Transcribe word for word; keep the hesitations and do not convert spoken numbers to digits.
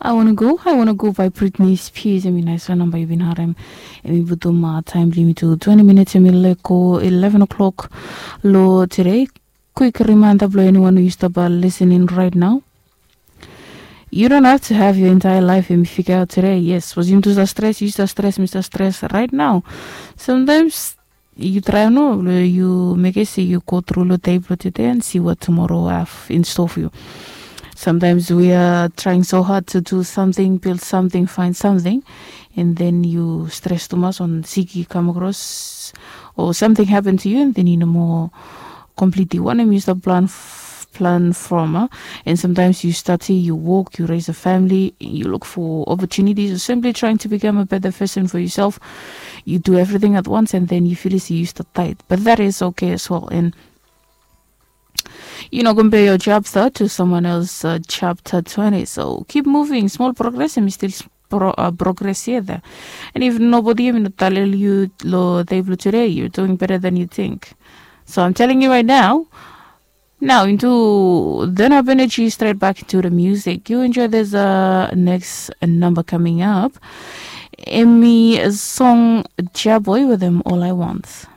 I wanna go, I wanna go by Britney Spears. Em i naispela namba yu bin harem. Em i putum taim bilong yumi tu twenti minits em i lek go eleven o'clock. Lo today, quick reminder bilong anyone yu stap listening right now. You don't have to have your entire life em i figure out today. Yes, was yumi tu sa stress, yu sa stress, mi sa stress right now. Sometimes yu trai no, yu mekim se yu go tru lo dei bilong today and see what tomorrow have in store for you. Sometimes we are trying so hard to do something, build something, find something, and then you stress tumas on siki come across or something happened to you, and then you no more completely wanem yu stap plan plan from uh, and sometimes you study, you work, you raise a family, you look for opportunities, or simply trying to become a better person for yourself. You do everything at once and then you feel as you start tight, but that is okay as well. And you know, compare your chapter to someone else's uh, chapter twenty. So keep moving. Small progress and still pro, uh, progress here there. And if nobody even tell you lo table today, you're doing better than you think. So I'm telling you right now, now into then up energy straight back into the music. You enjoy this uh, next number coming up. Emmy song Jaboy with them all I want.